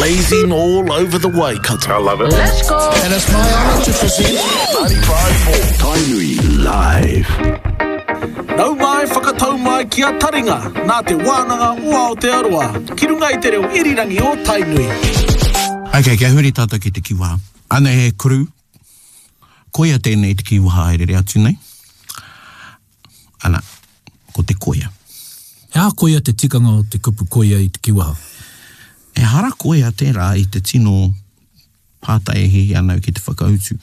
Blazing all over the Waikato. I love it. Let's go. And it's my honour to present 95.4 Tainui Live. Nau mai whakatau mai ki a Taringa, nā Te Wānanga o Aotearoa, ki runga i te reo irirangi o Tainui. Okay, kia huri tātou ki te kiwaha. Anei he kuru. Koia tēnei te kiwaha e rere atu nei. Ana, ko te koia. He aha koia te tikanga o te kupu koia i te kiwaha? Ehara koia tērā i te tino pātai e hiahia ana au ki te whakautu.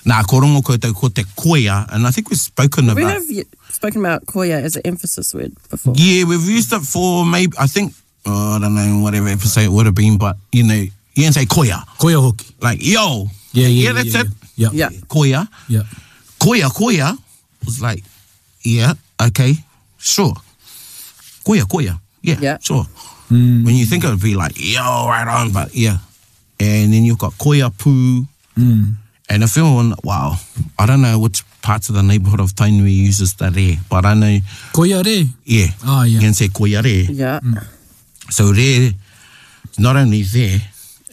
Nā, ko rongo koutou ko te koia, and I think we've spoken We about... have spoken about koia as an emphasis word before. Yeah, we've used it for maybe, I think, oh, I don't know, whatever episode it would have been, but, you know, you can say koia. Koia hoki. Like, yo. Yeah, yeah, Yeah, yeah, that's yeah, it. Yeah. Yeah. Koia. Yeah. Koia, koia was like, yeah, okay, sure. Koia, koia. Yeah, Yeah. sure. When you think it would be like, yo, right on, but yeah. And then you've got koia pū. And if anyone, wow, I don't know which parts of the neighborhood of Tainui uses the re, but I know, Koia re. yeah. Ah, yeah. You can say koia re. Yeah. So re, not only there,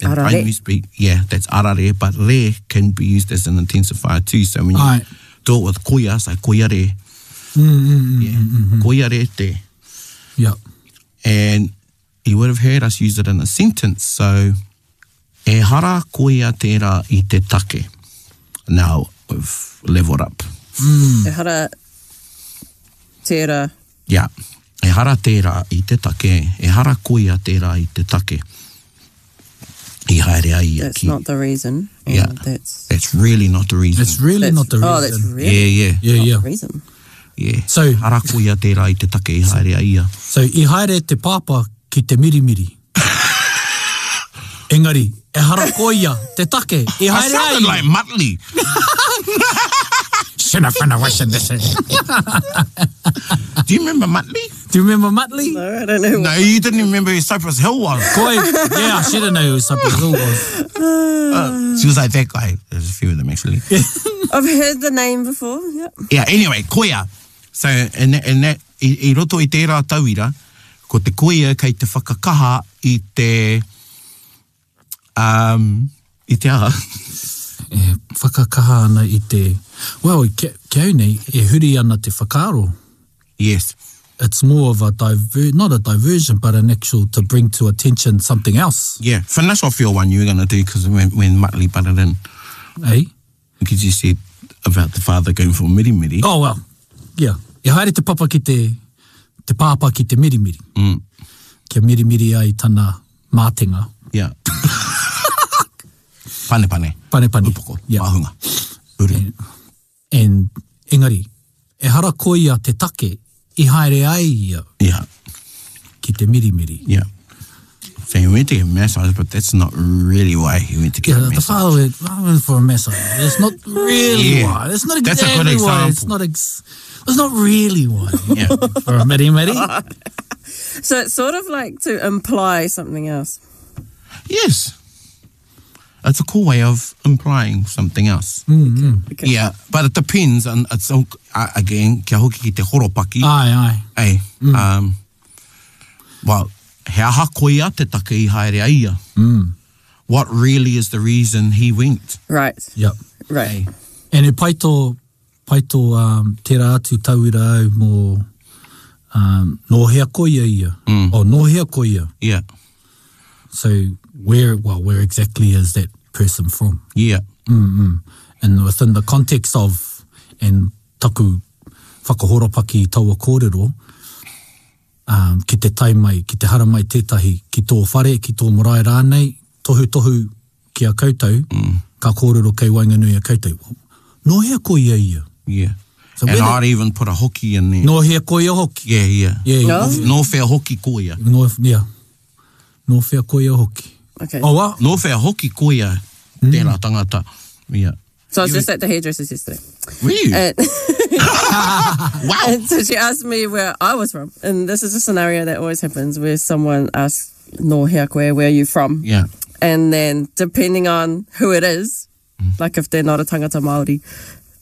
in Arare. Tainui speak, yeah, that's arare, but re can be used as an intensifier too. So when you Aye. do it with koia, it's like koia re. yeah. Koia re te. Yeah. And you would have heard us use it in a sentence. So, ehara koia tērā i te take. Now, we've leveled up. Ehara tērā. Yeah. Ehara tērā i te take. Ehara koia tērā i te take. I haere ai ia That's ki. not the reason. And Yeah. That's, That's really not the reason. It's really that's not the reason. Oh, that's really Yeah, yeah. Yeah, not yeah. the reason. Yeah. So- Ehara koia tērā i te take i haere ai ia. So, i haere te pāpā ki te mirimiri. Engari, ehara koia te take i I haere ai. sounded like Muttley. Do you remember Muttley? Do you remember Muttley? No, I don't know. No, you didn't even remember who Cypress Hill was. Koi, yeah, I should have known who Cypress Hill was. She was like that guy. There's a few of them actually. I've heard the name before. Yeah. Yeah, anyway, koia. So, in that, in that, i, i roto i tērā tauira, ko te koia kei te whakakaha i te, um, i te aha. E whakakaha ana i te... Well, ki, ki au nei, e huri ana te whakaaro. Yes. It's more of a diver, not a diversion, but an actual to bring to attention something else. Yeah. Finish off your one you were going to do because when, when Muttley butted in, Eh? because you said about the father going for miri miri. Oh, well, yeah. E haere te papa ki te, te pāpā ki te mirimiri. Mm. Kia mirimiri ai tana mātenga. Yeah. pane pane. Pane pane. Upoko. Yeah. Māhunga. Uru. And, engari, ehara koia te take i haere ai ia Yeah. ki te mirimiri. Yeah. So he went to get a massage, but that's not really why he went to get Yeah, a the massage. father went, I went for a massage. It's not really Yeah. why. It's not That's a exactly good why. It's example. not ex- it's not really why. Yeah. For a mirimiri. So it's sort of like to imply something else. Yes. It's a cool way of implying something else. Mm-hmm. Okay. Yeah, but it depends on it's all, uh, again kia hoki ki te horopaki. Ai, ai. Ei, um, well, he aha koia te take i haere ai ia. What really is the reason he went? Right. Yep. Right. And e pai tō, pai tō um, tērā atu tauira au mō um, nō hea koia ia. Mm. Oh, nō hea koia. Yeah, So where, well, where exactly is that person from? yeah, And within the context of, and taku whakahoropaki i taua kōrero, um, ki te tai mai, ki te haramai tētahi, ki tō whare, ki tō marae rānei, tohu tohu ki a koutou, mm. ka kōrero kei waenganui a koutou. Well, nō hea koia ia? yeah. So and where the- I'd even put a hoki in there. Nō hea koia hoki? Yeah, yeah. Yeah, yeah. No? Nō whea hoki koia. Nō, yeah. Nō whea koia hoki. Okay. Oh, wa? Nō whea hoki koia tērā tangata. Yeah. So I was just at the hairdresser's yesterday. Were you? And, wow. and so she asked me where I was from. And this is a scenario that always happens where someone asks, No hea koe, where are you from? Yeah. And then depending on who it is, like if they're not a tangata Māori,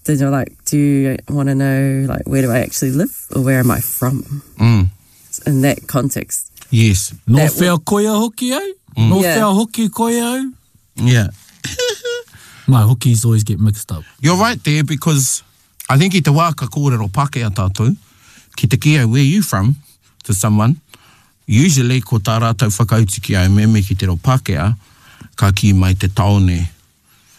then you're like, do you want to know, like, where do I actually live or where am I from? Mm. In that context. Yes. Nō That whea koia hoki au? Nō Yeah. whea hoki koe au? Yeah. My hokis always get mixed up. You're right there because I think i te wā ka kōrero Pākehā tātou, ki te kī au, where you from, to someone, usually ko tā rātou whakautu ki au, me me ki te reo Pākehā, ka kī mai te tāone,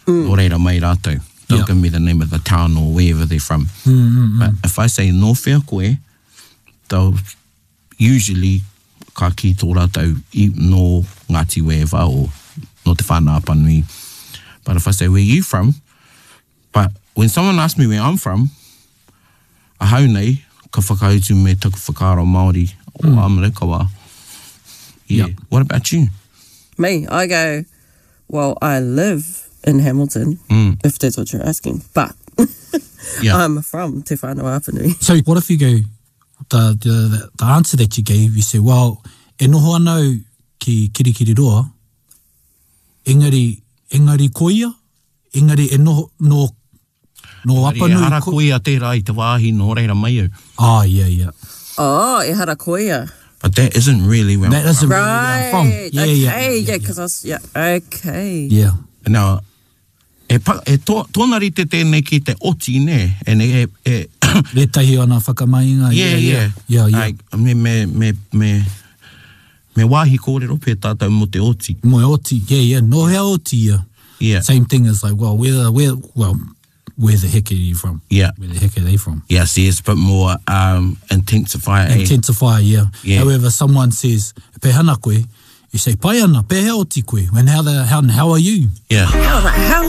nō reira mai rātou. They'll Yeah. give me the name of the town or wherever they're from. But if I say nō whea koe, they'll usually ka kī tō rātou i, nō Ngāti Wēwa or nō Te Whānau-a-Apanui. But if I say, where you from? But when someone asks me where I'm from, ahau nei, ka whakautu me taku whakaaro Māori o mm. I'm Raukawa. Yeah. Yep. What about you? Me, I go, well, I live in Hamilton, if that's what you're asking, but Yeah. I'm from Te Whānau-a-Apanui. So what if you go, the, the, the answer that you gave, you say, well, e noho ana au ki Kirikiriroa, engari, engari koia, engari e noho, no, no Engari Apanui. ehara ko- koia tērā i te wāhi nō reira mai au. Ah, yeah, yeah. Oh, ehara koia. But that isn't really where That I'm isn't from. really where I'm from. Right. Yeah, okay. yeah, yeah, Yeah, because I was, yeah, okay. Yeah. Now, e, pa, e tō, tōna rite tēnei ki te oti, nē? And e, e, Retahi ana whakamainga. yeah, yeah. Yeah, yeah. Like, me, me, me, me, me wāhi kōrero pē tātou mō te oti. Mo oti, yeah, yeah. No hea oti, yeah. Yeah. Same thing as like, well, where the, where, well, where the heck are you from? Yeah. Where the heck are they from? Yeah, see, it's a bit more um, intensify. eh? Intensify, yeah. Yeah. However, someone says, pehana koe, you say, pai ana, pehea oti koe? And how, the, how, how are you? Yeah. I was like, how